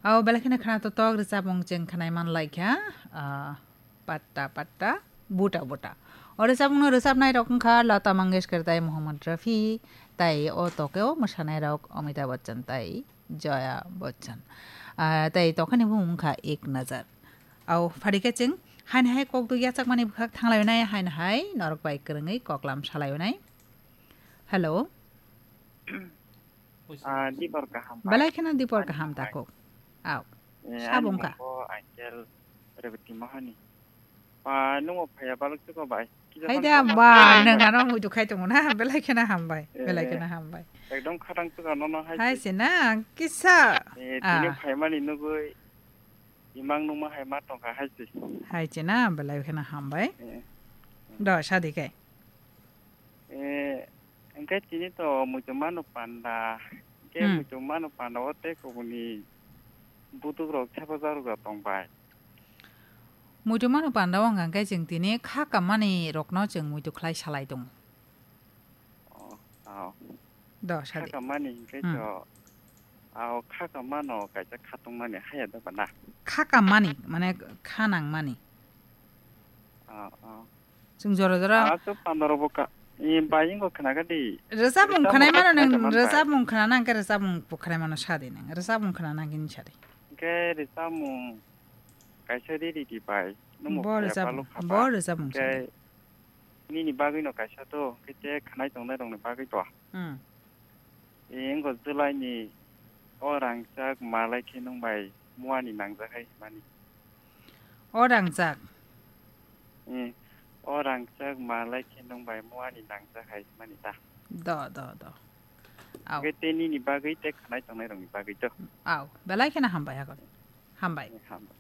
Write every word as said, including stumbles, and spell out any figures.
Au belai kheno khana to tok rwchapmung chwng khnai man lai kha, ah, patta patta, buta buta. O rwchapmung no rwchapnai rok wngkha Lata Mangeshkar tai Mohammad Rafi, tai o tokeo mwsanai rok Amitabh Bachchan tai Jaya Bachchan. Ah, tai tokhani bumung wngkha Ek Nazar. Au pharikhe chwng haini hai kok dui yachakmani bwkhak thanglai nai, haini hai norok bai kwrwngwi koklam salai nai. Hello. Ah, dibor kaham bai. Belai kheno dibor kaham takuk. Au. Eh, sabung ani ka. Mung bo Angel Rebeti Mahani. Pa, nungo phaya balok chuko bai. Kisa hai phone da call ba, ma nang ano muitu khai tongo na, belai kheno hambai, belai kheno hambai. Ekdom khatang chuka nono hai. Hai se na, kisa. Eh, tini phaimani nugui, imang nungma hai ma tongkha hai se. Hai se na, belai kheno hambai. Eh. Do, sadi kai. Eh, hingke tini to muitu mano panda. Hingke muitu mano panda o tei kubuni butuk rok thepa jarok rok tong bai. Muitu mano panda o hingka hingke chwng tini kha kammani rokno chwng muitu khlai salai tongo. Oh, oh. Do, sadi. Kha kammani hingke to, ao kha kammano kaisa kha tongmani haya da bana. Kha kammani, mane kha nangmani. Oh, oh. Chwng jora jora. Ah, so pandoro bo ka, i, bai ingo khna ga di. Rwchapmung khwnai mano nwng, rwchapmung khna nang khe rwchapmung bo khwnai mano sa di nwng. Rwchapmung khna nang khe sa di. Hingke rwchapmung kaisa ri ri di bai. Nwng bo rwchapmung, bo rwchapmung sa di. Nini bagwi no kaisa to, hingke te khwnai tongnai rokni bagwi to. Hmm. Ingo July ni o rangchak malai khe nwng bai muani nangjak hai mani. O rangchak? Eh, o rangchak malai khe nwng bai muani nangjak hai mani ta. Do, do, do. Au. Hingke te nini bagwi te khwnai tongnai rokni bagwi to. Au, belai kheno hambai hakon. Hambai. Eh, hambai.